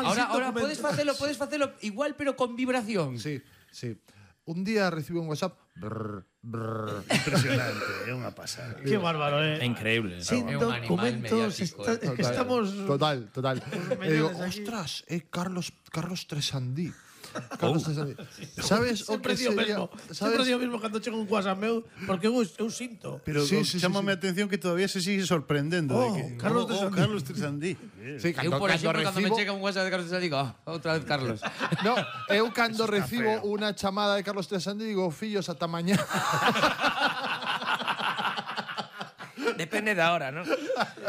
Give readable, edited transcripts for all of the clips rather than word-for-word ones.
Ahora podes facelo igual, pero con vibración. Sí. Un día recibo un WhatsApp. Impresionante, é unha pasada. Qué bárbaro, É increíble. Sin É un animal documentos, mediático, es que estamos... Total. E digo, aquí. ostras, Carlos Tresandí. Carlos Tresandí. Sabes o Sempre que digo sería? mesmo. Sempre digo mesmo cando chega un WhatsApp meu, porque eu sinto. Pero Sí. chámame a atención que todavía se sigue sorprendendo de que Carlos Tresandí. Carlos Tresandí. Sí, Eu, por exemplo, cando me recibo, chega un WhatsApp de Carlos, digo, outra vez Carlos. no, eu cando Eso está recibo feo. unha chamada de Carlos Tresandí digo, fillos, ata mañá. Depende da hora, ¿no?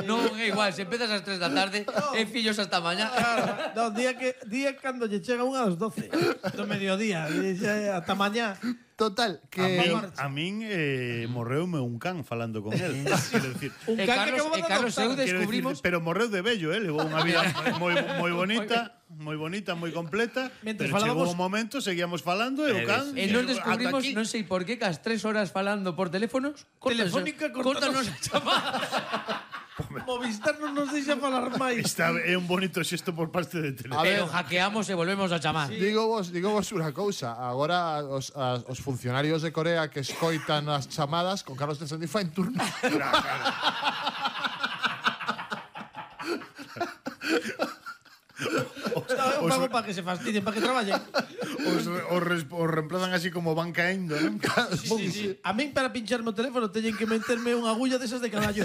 Non é igual, se empezas ás 3 da tarde, e fillos hasta mañá. No, día cando lle chega unha ás 12 do mediodía, e dice, ata mañá. Total, que A min morreume un can falando con él. Quero decir, Un E can que Carlos, acabamos de eu adoptar. descubrimos... pero morreu de bello, levou unha vida moi bonita, moi completa. Mentre Pero chegou falábamos- un momento, seguíamos falando e o can... E nos ata descubrimos, aquí. non sei por qué, que as 3 horas falando por teléfonos, Telefónica, córtanos córtanos. a chamada. Movistar non nos deixa falar máis. É un bonito xesto por parte de Tele. A ver. Pero hackeamos e volvemos a chamar. digo vos unha cousa. Agora os funcionarios de Corea que escoitan as chamadas con Carlos Tresandí fan turno. Eu pago para que se fastidien, para que traballen. Os reemplazan así como van caendo, non? Sí. A min para pincharme o teléfono teñen que meterme unha agulla desas de caballo.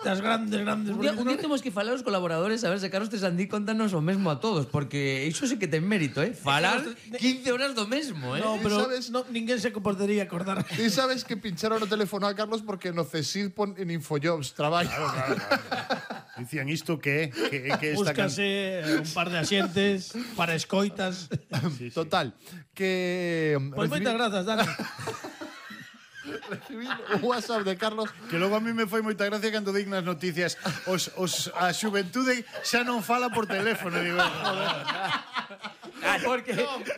Das grandes. Un día temos que falar aos colaboradores a ver se Carlos Tresandí contanos o mesmo a todos, porque iso sí que ten mérito, Falar 15 horas do mesmo, No, pero ¿Sabes? no, ninguén se podería acordar. Ti sabes que pincharon o teléfono a Carlos porque no CSID pon en Infojobs traballo. Claro. Dicían isto que esta Búscase un par de asientes para escoitas. Total, que Pois moitas grazas, Dani. recibí un WhatsApp de Carlos. Que logo a mí me foi moita gracia cando dignas noticias a xuventude xa non fala por teléfono, digo, joder.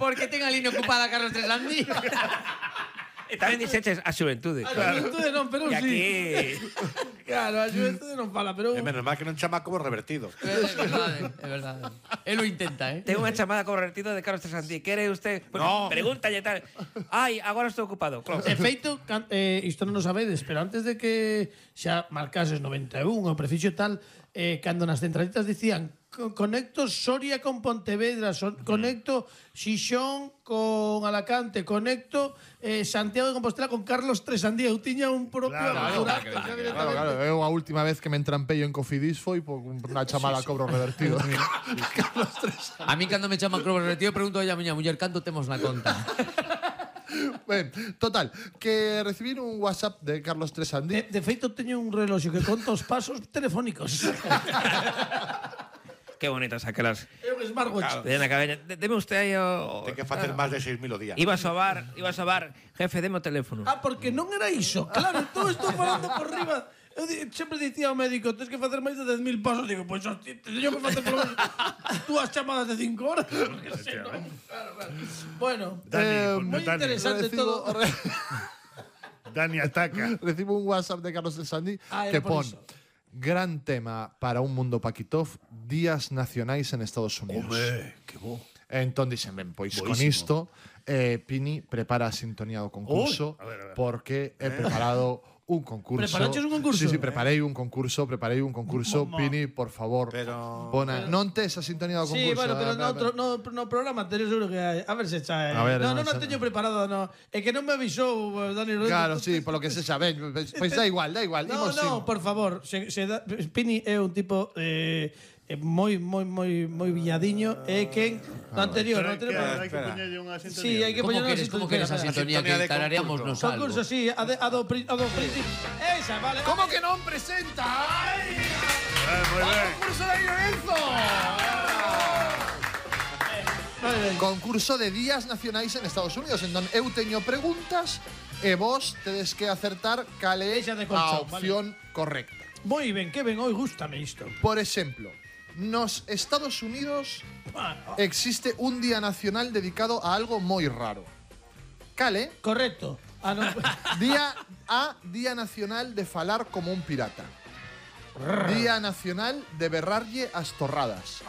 Porque ten a línea ocupada Carlos Tresandí. E tamén dixeches a xuventude. A xuventude non, pero E sí. aquí... Claro, a xuventude non fala, pero... É menos mal que non chama como revertido. É verdade. Él lo intenta, Ten unha chamada convertido de Carlos Tresandí. Quere usted? Pues, No. Pregúntalle tal. Ai, agora estou ocupado. Claro. De feito, isto non o sabedes, pero antes de que xa marcases 91 o prefixo tal, cando nas centralitas dicían conecto Soria con Pontevedra, conecto Xixón con Alacante, conecto Santiago de Compostela con Carlos Tresandí. Eu tiña un propio Claro, eu a última vez que me entrampeio en Cofidis foi por unha chamada a cobro revertido. Carlos Tresandí. A mí cando me chaman Cruz Retiro pregunto a miña muller canto temos na conta. Ben, total, que recibir un WhatsApp de Carlos Tresandí. De feito, teño un reloxo que conta os pasos telefónicos. Qué bonitas aquelas. É un smartwatch. De na cabeza. Deme usted aí o... Ten que facer máis de 6.000 o día. Iba a sobar, jefe, deme o teléfono. Ah, porque non era iso. Claro, todo estou falando por riba. Eu sempre dicía ao médico, tens que facer máis de 10.000 pasos. Digo, pois, hostia, teño que facer por túas chamadas de 5 horas. Porque se non. Claro. Bueno, moi Dani, interesante todo. Dani ataca. Recibo un WhatsApp de Carlos Tresandí Ah, que era por pon iso. gran tema para un mundo Paquitov, días nacionais en Estados Unidos. Que bo. Entón dixen, ben, pois con Boísimo. isto Pini prepara a sintonía do concurso. Ui, a ver. Porque he preparado un concurso. Preparaches un concurso? Sí, preparei un concurso. Pini, por favor. Pero- non tes a sintonía do concurso. Sí, bueno, pero no programa anterior seguro que hai. A ver se chae. A ver, no, no, non a se- teño preparado, no. É que non me avisou Dani Rodríguez. Claro, sí, polo que se sabe. Pois da igual. No, imos no, por favor. Pini é un tipo moi viñadiño. É quen no anterior. Hai que poñerlle unha sintonía. Sí, hai que Como poñer queres a sintonía sintonía que de tarareamos nos algo? concurso, sí, a do principio. Esa, vale. Como que non presenta? Moi ben. Concurso de Lorenzo. Concurso de días nacionais en Estados Unidos, en donde eu teño preguntas e vos tedes que acertar cal é Esa de a colchón, opción correcta. Moi ben, que ben, hoy gústame isto. Por exemplo, nos Estados Unidos existe un día nacional dedicado a algo moi raro. Cale, Correcto. Ah, no. Día Nacional de falar como un pirata. Día Nacional de berrarlle as torradas.